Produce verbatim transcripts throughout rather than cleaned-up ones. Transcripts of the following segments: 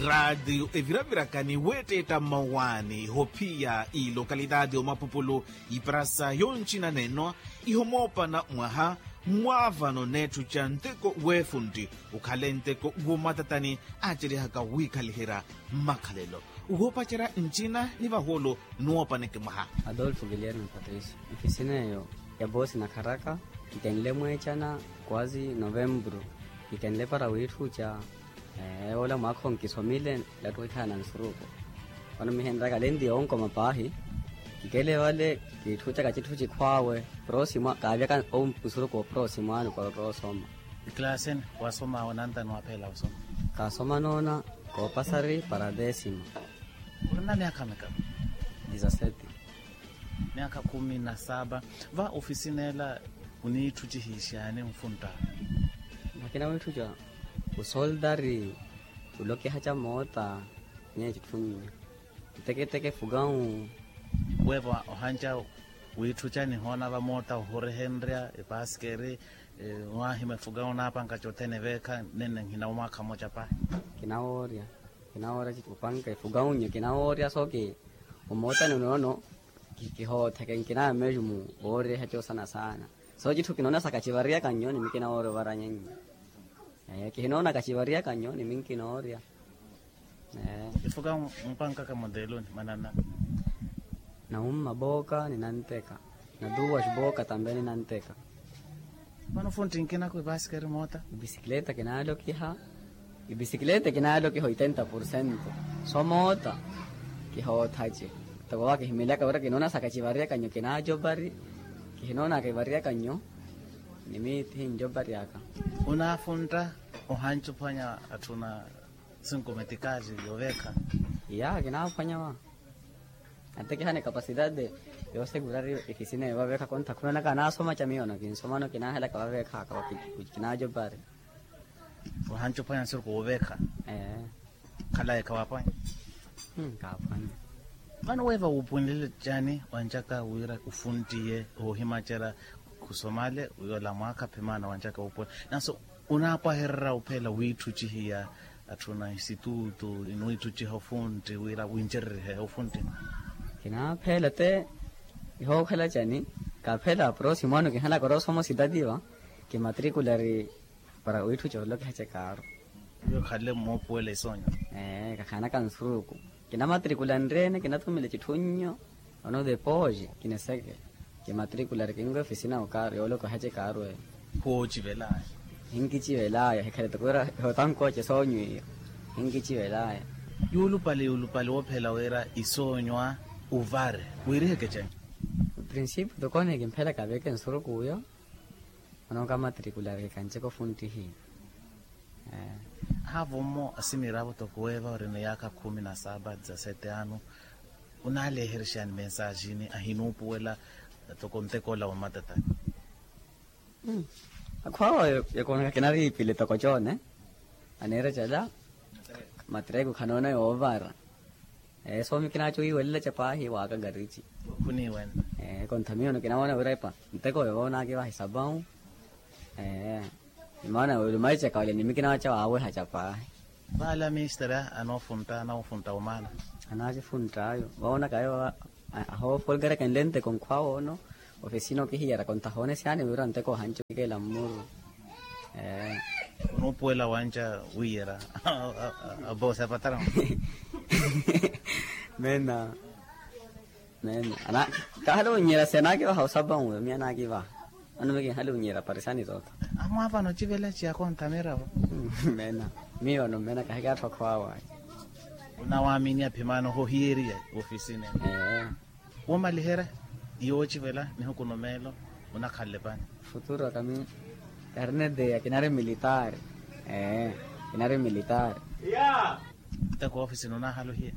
Raatiyo eviravirakani weettetta mmawaani ihophiya ilokalitaati omapupulu, iparasa yoncinanenwa ihomoopana mwaha mwaavano neettuca nteko weefuntti, okhale nteko womatatani aaceryahaka wiikhaliherya mmakhalelo. Woopacerya ncina ni vahuulu nuwoopaneke mwaha. Adolfo guilherme patricio. Ifisineyo ya boosi nakharaka kikenle mweecana kwazi novempuru, kikenle para wiitthuca. Ewola mwaakha onkisomile. Lattukhihana nsuruku. Vano mihenraka lenti yoonkoma paahi. Kikele vale kiitthuca kacitthu cikhwaawe. Prosimo kaavyaka osuruku oprosimo ano para otthoosoma. Ekilaasini wasomawe nantani waphela osoma? Kaasoma noona koopasari para desima. Orina myaakha mikapo? Disasete. Myaakha khumi na sapa. Va ofisineela oniitthucihiixaani onfuntta? Vakina wiitthuca osoldari, olokihaca moota, nyeye citthu nnya. Nteketeke fukawu. Weepa ohanca wiitthuca nihoona vamoota ohurehenrya epasikeri. Waahima efukawu naapanka cothene veekha nene nhina omwaakha mmoca paahi. Kinawoorya. Kinawoorya opanka efukawu nnya kinawoorya sooki omootani onoono. Kihootheke nkinameju mu wooryeha coosana saana. Sooci itthu kinoona sa kacivariyaka nyo nimi kinawoorya ovaranya nnya. Kihinoona kacivariyaka nyo nimi nkinoorya. Efuka mupankaka monteeloni manana. Nawumma booka ni nanteka. Natuwa booka tambe ni nanteka. Mano funti nkinako epasikeri moota. Episikileta kinaalokiha. Episikileta kinaalokiha oitenta porcento. Somoota. Kihoothace. Toko wa kihimilaka wira kinoona sa kacivariyaka nyo kinaajopari. Kihinoona kacivariyaka nyo. Nimiithi njopari aka. Onaafuntta ohancuphwanya atthuna sinkometikali yoveekha. Iya kinaaphwanya wa. Antekihana ekapasidade. Yoosekurari ekisina evaveekha kontha khunanaka anaasoma ca miyono kinsomano kinaahelaka vaveekhaka. Kinaajopari. Ohancuphwanya nsiru kooveekha. Ee. Khalayi khawaphwanya. Kaaphwanya. Vano weeva wuupunlile cani wancaka wira ofuntiye oohimacerya? Khusomale yoola mwaakha phimaana wancaka wuupunla nanso onaapwahererya ophela wiitthucihiya atthuna institutu iniwiitthuciha ofunti wira wincererihe ofunti. Kinaaphela te ihookhala cani? Kaaphela prosimo ano kihalaka orosoma ositatiwa kimatrikulari. Para wiitthu coolokiha cekaaru. Iyo khale moopuwela isoonyo. Ee kakhanaka nsuruku. Kinamatrikula nreene kinathumile citthu nnyo. Ono deposi kiniseke. Kimatrikulari kinwe ofisina okaaru yoolokiha cekaaru eyo. Khuwoocivelaya. Hinkicivelaya hikhale toko wira ihotankoce soonyo iyo. Hinkicivelaya. Yuulupale yuulupale woophela wira isoonyo a uvare wiiriheke cani? Prinsipu tokoni kimphelaka veke nsuruku uyo. Ono kamatrikulareke kanjeko funtihi. Haavo mmo asimiravo toko weeva ori ni yaakha khumi na sapa dizasete ano. Onaaleherixani mensajini ahinuupuwela toko ntekoola wa matatani. Akhwaawa yakoonaka kinariipile toko coone. Aneera cala matreko khanoona yoovara. Ee soomi kinaacowiiwelelaca paahi waaka garici. Khuniiwenna. Ee kontha miyo no kinawoona wira epa nteko yoonaakivaha isapawu. Ee. Imaana wira omaicaka olya nimi kinaaca waawehaca paahi. Vaala minisiteri anoofuntta anoofuntta omaana. Anaacifuntt'ayo voonaka ayo. Ahoofolkarekenle nteko nkhwawoono. Ofisina okihiyera kontha hoone siyaani wira nteko ohanci okikeela mmuru. Ee. Onuupuwela wanca wiyera. Aboosi apatara. Mena. Mena. Kaahale onyiira si anaakivaha osapawu miyo anaakivaha. Ano miyo kinhale onyiira parisani toto. Amwaapana ocivela ciya kontha miravo. Mena. Miyo ano mena kahikaatthu akhwaawa. Onawaaminiya phimaana ohohiyeriya ofisina. Ee. Woomaliherya yoocivela nihuku no meelo onakhanle pani? Futuro kami. Karnete ya kinari militaari. Ee. Kinari militaari. Nteko woofisini onaahala ohiya?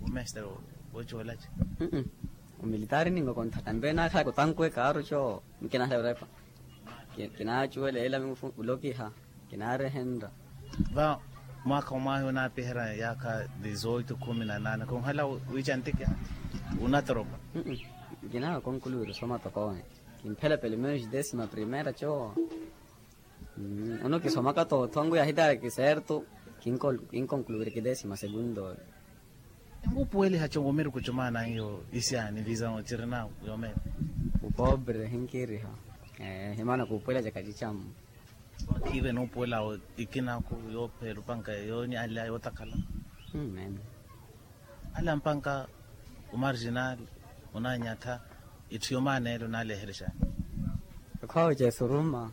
Omestere woociwelaci. Omilitaari ningo kontha tambe naakhalaka otanku ekaaru co. Mikinahela wira epa. Kinaacuwela ela mingu fu ulokiha. Kinaarehenrya. Va mwaakha omwaahi onaapiherya yaakha dizoito khumi na naana khunhala wiica ntikya? Onatoropa. Nkinawe konkuluwira osoma tokowe. Kimphela pelo menos desima primera co. Ono kisomaka tothongo yahitaara kiserto. Kinkonkuluwiriki desima segunto. Enkupuweliha congo miri kucumana iyo isiani visawo cirina yomene. Upobre hinkiriha. Himana kupuwela caka cicammo. Ive nupuwela ikinaku yophela upanka yonyalya yotakhala. Mene. Ala mpanka umarginal unanyatha itthu yomaneela unaleherexani. Ekhowa cesuruma.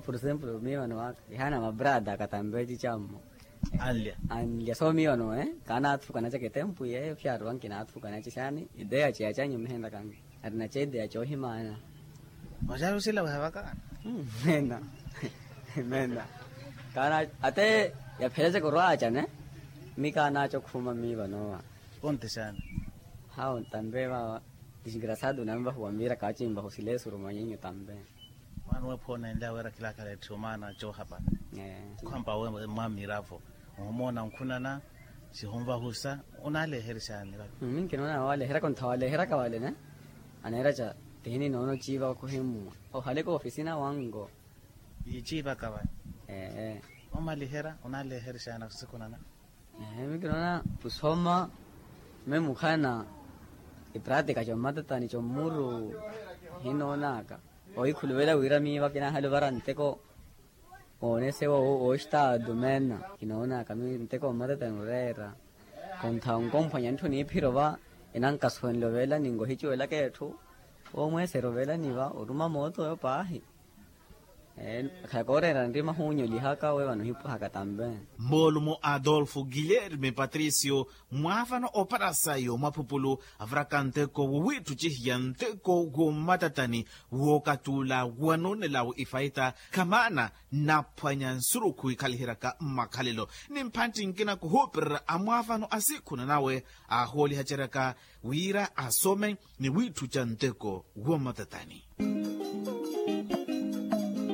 Por exemplo miyo wano waka ihana mabrada akatambe cicammo. Anlya. Anlya so miyo wano kaanaathukanacaka etempu yeyo pyaari wankinaathukanacaka xani ideya ceya canyu mihenlakanga. Ari naceeteya coohimaana. Oxaari osila wehavaka? Mena. Mena. Kaana ate yaphelacaka orwaacane. Mi kaanaaca okhuma miiva noowa. Ponte xaana? Hawu tampe vaawa. Disgraciado onanvahuwa miira kaacimvaha osila esuruma nyinyu tampe. Mwaani wephoona enlya weera khilaakhala etthu omaana coohapana. Khwampa mwamiiravo. Ohumoona onkhunana sihunvahusa. Onaaleherya xaani vale? Minkinoona waaleheryaka ontha waaleheryaka vale ne. Aneeraca tihini noono ciiva wakuhimmuwa ohaleka ofisina wango. Yiiciivaka vale. Ee. Omaliherya onaaleherya xaani sikhunana? Ee minkinoona kusoma. Mwe mukhana ipratika commatatani commuru hinoonaka. Ohikhuluvela wira miiva kinaahale ovara nteko. Oonese woostaatu meena kinoonaka mi nteko mmatatani oreera. Kontha onkomphwanya ntthu niiphira ova enankasuwenle oveelani nkohicuwelaka etthu. Oomweesera oveelani va oruma mooto oyo paahi. Khaya kooreera nrima huunyolihaka we vano ohipwahaka tampe. Moolumo adolfo guilherme patricio mwaavano oparasa yoomwaphupulu avaraka nteko wowiitthu cihiya nteko wommatatani. Wookatula wanoonelawo ifaita khamaana naphwanya nsurukhu ikhaliheryaka mmakhalelo ni mphantti nkina kuhuupererya amwaavano a siikhuna nawe aahoolihaceryaka wira asome ni wiitthuca nteko wommatatani.